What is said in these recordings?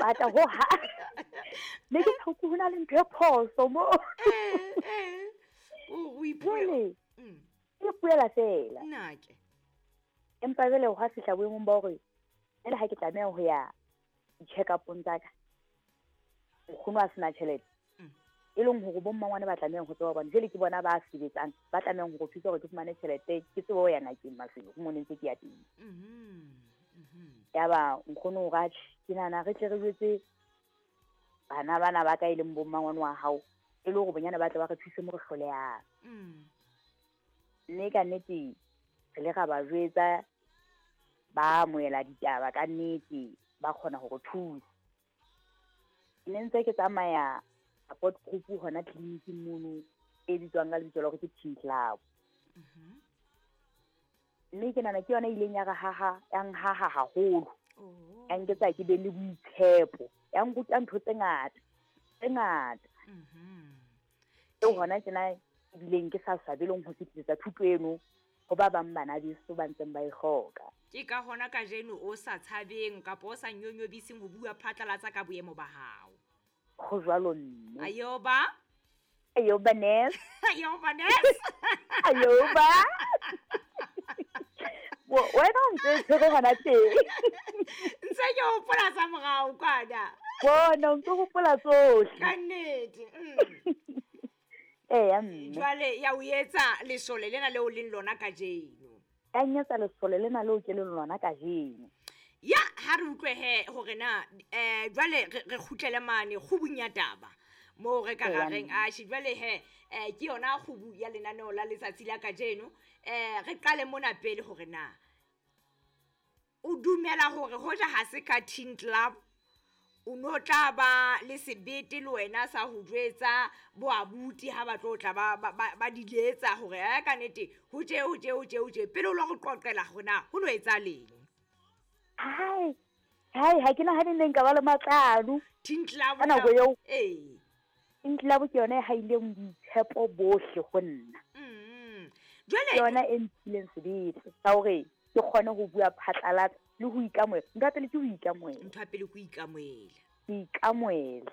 ipata ho ha ne ke tshoko ho na le ntho e phoso mo. O ipuela. Jwale ke ipuela fela. Nna ke. Empa jwale hwa fihla boemong ba hore jwale ha ke tlameha ho ya di-check upong tsa ka, nkgono a sena tjhelete, e leng hore bo mmangwane ba tlamehang ho tseba, hobane jwale ke bona ba sebetsang, ba tlamehang hore thusa hore ke fumane tjhelete, ke tsebe ho ya ngakeng Maseru mo ne ntse ke ya teng. Yaba nkgono o re, atjhe, ke nahana re tle re jwetse bana bana ba ka, e leng bo mmangwane wa hao, e le hore bonyane ba tle ba re thuse mo re hlolehang. Mme ka nnete re le ra ba jwetsa, ba amohela ditaba ka nnete, ba kgona ho re thusa. Ne ntse ke tsamaya support group hona tleliniking mono e bitswang ka lebitso la hore ke Teen Club. Mme ke nahana ke yona e ileng ya re haha, ya nhaha haholo. Ya nketsa ke be le boitshepo, ya nruta ntho tse ngata, tse ngata. Eo hona tjena ebileng ke sa swabeleng ho fetisetsa thuto eno ho ba bang bana beso ba ntseng ba e hloka. Ke ka hona kajeno o sa tshabeng kapa o sa nyonyobiseng ho bua phatlalatsa ka boemo ba hao. Ho jwalo, mme. Ayoba. Ayoba nurse. Ayoba nurse. Ayoba. Wena o ntse tshwere hona teng. Ntse ke hopola tsa morao kwana. Bona o ntse hopola tsohle. Ka nnete. Eya, mme. Jwale ya o etsa lesole lena leo leng lona kajeno. Ya nyetsa lesole lena leo ke leng lona kajeno. Ya ha re utlwe he hore na jwale re kgutlele mane kgubung ya taba moo re ka Eya, rareng mme. Atjhe, jwale he ke yona kgubu ya lenaneo la letsatsi la kajeno. Re qale mona pele hore na o dumela hore hoja ha se ka Teen Club o no tla ba le sebete le wena sa ho jwetsa bo abuti ha ba tlo tla ba diletsa hore ka nnete ho tje, ho tje, ho tje, ho tje, pele o lo re qoqela hore na ho no etsahaleng? Hai, hai, ha ke nahane ne nka ba le matlalo. Teen Club Ka nako eo. Teen Club ke yona e haileng boitshepo bohle ho nna. Jwale Ke yona e mphileng sebete sa hore ke kgone ho bua phatlalatsa le ho ikamohela. Ntho ya pele ke ho ikamohela. Ntho ya pele ke ho ikamohela. Ho ikamohela.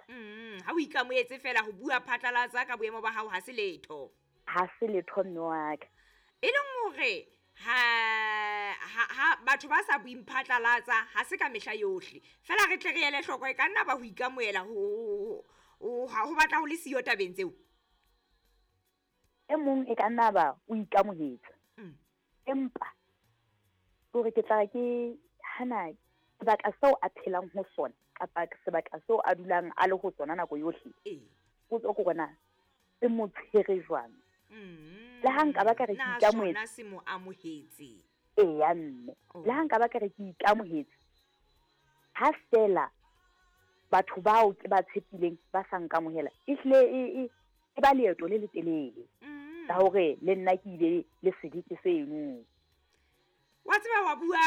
Ha o ikamohetse fela, ho bua phatlalatsa ka boemo ba hao ha se letho. Ha se letho, mme wa ka. E leng hore ha batho ba sa bueng phatlalatsa ha se ka mehla yohle. Fela re tle re ele hloko, e ka nna ba ho ikamohela ho batla ho le siyo tabeng tseo. E mong e ka nna ba o ikamohetse. Empa hore ke tla ke hana sebaka seo a phelang ho sona kapa sebaka seo a dulang a le ho sona nako yohle. Potso ke hore na se mo tshwere jwang? Le ha nka ba ka re ke Na ikamohetse. sona se mo amohetse? Eya, mme. Le ha nka ba ka re ke ikamohetse, ha fela batho bao ke ba tshepileng ba sa nkamohela, ehlile e ba leeto le letelele la hore le nna ke ile le sebete seno. Wa tseba wa bua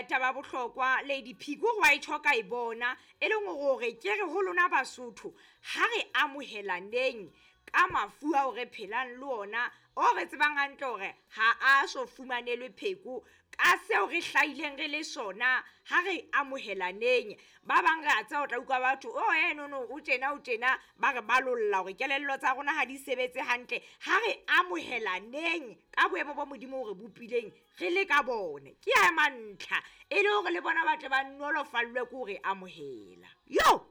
taba bohlokwa Lady P, ko wa e tjho ka e bona, e leng hore ke re ho lona Basotho ha re amohelaneng ka mafu ao re phelang le ona, o re tsebang hantle hore ha a so fumanelwe pheko ka seo re hlahileng re le sona, ha re amohelaneng. Ba bang re a tseba, o tla utlwa batho, oh, no, no, o tjena, o tjena, ba re balolla hore kelello tsa rona ha di sebetse hantle. Ha re amohelaneng ka boemo bo Modimo o re bopileng re le ka bone, ke ya mantlha e le hore le bona ba tle ba nolofallwe ke hore amohela. Yo!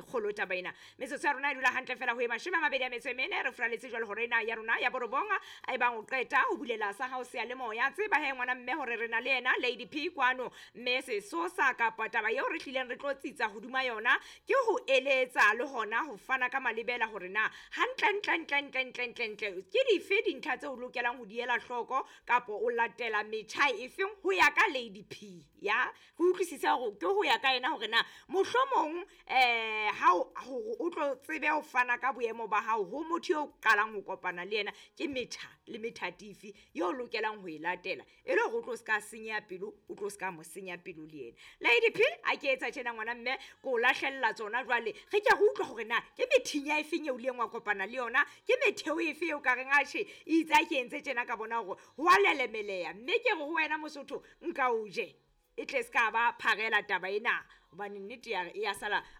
Kgolo taba ena. Metsotso ya rona e dula hantle fela ho e 24, re furaletse jwale hore ena ya rona ya borobong, a ebang o qeta ho bulela sa hao seyalemoya. Tseba he ngwana mme hore re na le yena Lady P kwano, mme sesosa kapa taba eo re hlileng re tlo tsitsa hodima yona ke ho eletsa le hona ho fana ka malebela hore na hantle ntle ntle ntle ntle ntle ntle ke dife dintlha tseo o lokelang ho di ela hloko kapa o latela metjha efeng ho ya ka Lady P. Ya re utlwisise hore ke ho ya ka yena hore na mohlomong ha o o tlo tsebe ho fana ka boemo ba hao ho motho eo qalang ho kopana le yena, ke metjha le methatifi eo o lokelang ho e latela e le hore o tlo ska senyeha pelo, o tlo ska mo senya pelo le yena. Lady P, a ke etsa tjena ngwana mme, ko o lahlella tsona jwale, re ke re utlwe hore na ke methinya e feng eo ileng wa kopana le yona, ke metheo efe eo ka reng atjhe itse a ke entse tjena ka bona hore ho a lelemeleha, mme ke re ho wena Mosotho nka o je e tle ska ba pharela taba ena, hobane nnete ya re e ya sala.